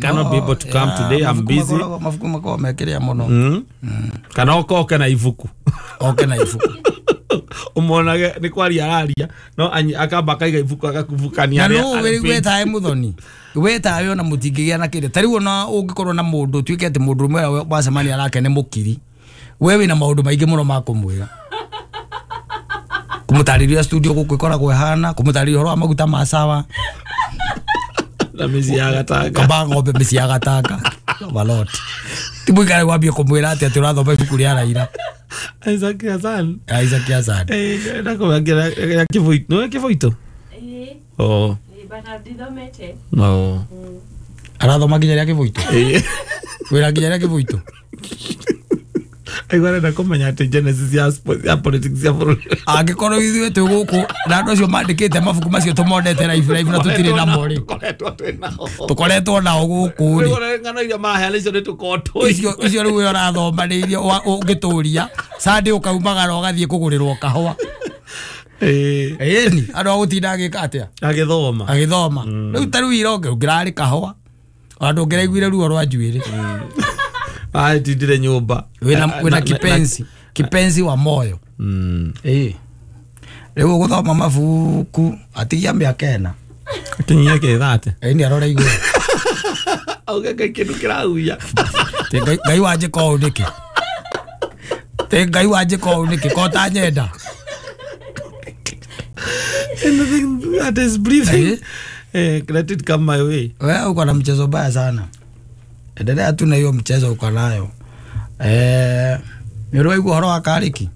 Cannot be able to come today, I'm busy. Mabuku makoragwo mekĩrĩa mũno. Kana okoke na ibuku. Oke na ibuku. Umonage nĩ kwaria araria no akamba akaiga ibuku agakubukania. Na no wĩtae mũthoni wĩtae ona mũtingĩgĩa na kĩrĩa ta rĩu ona ũngĩkorwo na mũndũ tuĩke atĩ mũndũ ũmwe wacemania nake nĩ mũkiri, we wĩna maũndũ maingĩ mũno ma kũmwĩra, kũmũtarĩria studio gũkũ ĩkoragwo ĩhana, kũmũtarĩria ũhoro wa maguta ma sawa na mĩciĩ ya Gatanga, kamba ng'ombe mĩciĩ ya Gatanga malot ti mũikare wambie kũmwĩra atĩ atĩ ũrathoma ibuku rĩa Raila. Isaac Hassan. Isaac Hassan. Ndakũmenya Kĩbũitũ. Nĩwe Kĩbũitũ? Ĩĩ. Oh. But ndithomete. No. Arathoma nginya rĩa Kĩbũitũ? Ĩĩ. Wĩra nginya rĩa Kĩbũitũ? Aigua arenda kũmenya atĩ genesis ya politics ya bũrũri. Angĩkorwo ithuĩ twĩ gũkũ na andũ acio mandĩkĩte mabuku macio tũmonete live live na tũtirĩ namo rĩ. Tũkoretwo twĩ nao. Tũkoretwo nao gũkũ rĩ. Rĩu ng'ano iria maraheana icio nĩ tũkorwo tũĩ. Icio rĩu we ũrathoma nĩ iria ũngĩtũria Sunday ũkaumagara ũgathiĩ kũgũrĩrwo kahũa. Ĩĩ. Ĩni andũ a gũtinda agĩka atĩa? Agĩthoma. Agĩthoma. Rĩu ta rĩu ira ũngĩrarĩ kahũa ona ndũngĩraiguire ruo rwa njuĩrĩ. Atindire nyũmba. Wĩna kipenzi, kipenzi wa moyo. Ĩĩ. Rĩu ũgũthoma mabuku atigia mĩaka ĩna. Akinyia kĩthate. Ĩni arora igũrũ. Auge Ngai kĩndũ kĩrahuia. Tĩ Ngai wanjĩka ũũ nĩkĩ? Tĩ Ngai wanjĩka ũũ nĩkĩ? Ko ũtanyenda? Anything that is breathing, let it come my way. Wewe uko na mchezo mbaya sana. Endelea tu na hiyo mchezo uko nayo. Nĩ ũraigua ũhoro wa Karĩki?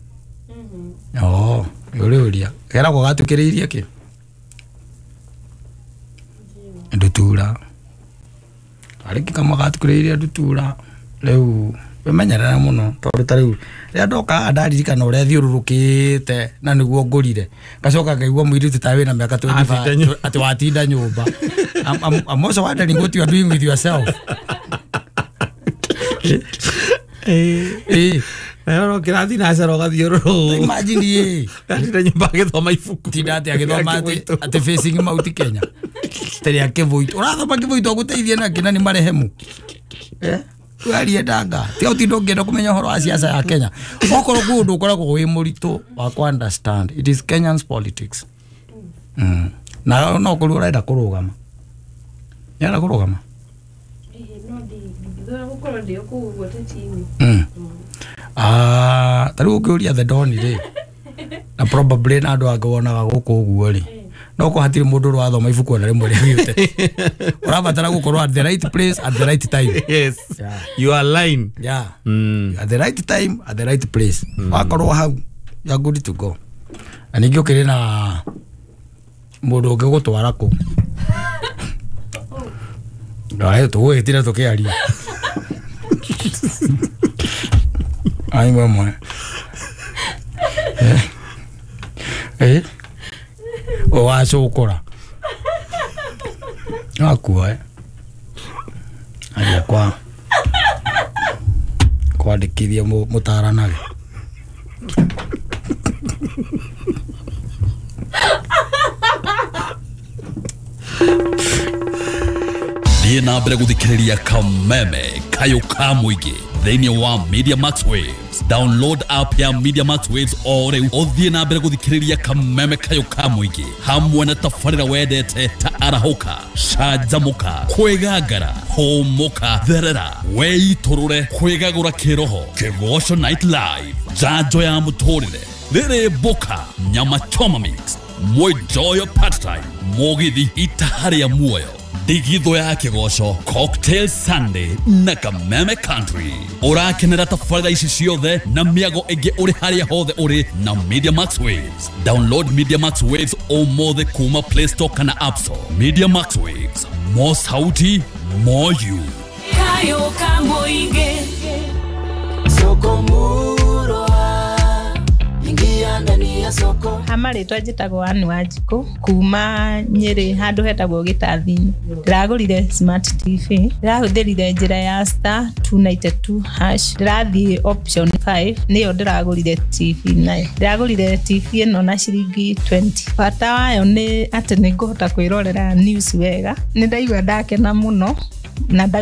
Oh, nĩ ũrĩũria. Keragwo gatukĩrĩirie kĩ? Ndutura. Karĩki kamwe gatukĩrĩirie ndutura. Rĩu wĩmenyerere mũno tondũ ta rĩu rĩrĩa ndoka haha ndaririkana ũrĩa thiũrũrũkĩte na nĩguo ngũrire. Ngacoka ngaigua mũirĩtu ta wĩna mĩaka 25 atĩ watinda nyũmba. I'm also wondering what you are doing with yourself. Nayo no kĩrathiĩ na cero ũgathiũrũrũka. Imagine ĩ. Atinda nyũmba agĩthoma ibuku. Tinda atĩ agĩthoma atĩ facing Mount Kenya. Tĩrĩa Kĩbũitũ. Ũrathoma Kĩbũitũ agũteithie na kĩ na nĩ marehemu. Warie ndanga. Tiga ũtinde ũngĩenda kũmenya ũhoro wa siasa ya Kenya. Okorwo kwĩ ũndũ ũkoragwo wĩ mũritũ wa kũ understand. It is Kenyans politics. Na no kũrĩ ũrenda kũrũgama. Nĩarenda kũrũgama? No ndithũra gũkorwo ndĩ kũu ũguo teti-inĩ. Ta rĩu ũngĩũria The Don rĩ, na probably na andũ angĩ wonaga gũkũ ũguo rĩ, no ko hatirĩ mũndũ ũrathoma ibuku ona rĩmwe rĩa gĩũteti. Ũrabatara gũkorwo at the right place at the right time. Yes. Yeah. You are line. Yeah. At the right time at the right place. Wakorwo hau, you are good to go. Na ningĩ ũkĩrĩ na mũndũ ũngĩgũtwara kũu. Ayo tũgũgĩtira tũkĩaria. Ai mama. Wacũkũra. Akua. Aria kwa kwandĩkithia mũtaranage. Thiĩ na mbere gũthikĩrĩria Kameme Kayũ ka mũingĩ thĩinĩ wa Media Max Waves. Download app ya Media Max Waves o rĩu ũthiĩ na mbere gũthikĩrĩria Kameme Kayũ ka mũingĩ hamwe na tabarĩra wendete ta arahũka, canjamũka, kwĩgangara, hũmũka, therera, weitũrũre, kwĩgagũra kĩroho, Kĩgoco Night Live, njanjo ya mũtũrĩre, rĩrĩ mboka, nyama choma mix, mwenjoyo part time, mũgithi itaha rĩa muoyo, ndigithũ ya kĩgoco, Cocktail Sunday na Kameme Country. Ũrakenera tabarĩra ici ciothe na mĩago ĩngĩ ũrĩ harĩa hothe ũrĩ na Media Max Waves. Download Media Max Waves ũmũthĩ kuma Play Store kana App Store. Media Max Waves, more sauti, more you. Kayo ka mũingĩ. Soko murwa, ingia ndani ya soko. Marĩtwa njĩtagwo Ann Wanjikũ kuma Nyĩrĩ handũ hetagwo Gĩtathi-inĩ. Ndĩragũrire smart TV, ndĩrahũthĩrire njĩra ya star 292 hash, ndĩrathiĩ option 5 nĩyo ndĩragũrire TV nayo. Ndĩragũrire TV ĩno na ciringi 20. Bata wayo nĩ atĩ nĩ ngũhota kwĩrorera news wega. Nĩ ndaigua ndakena mũno Na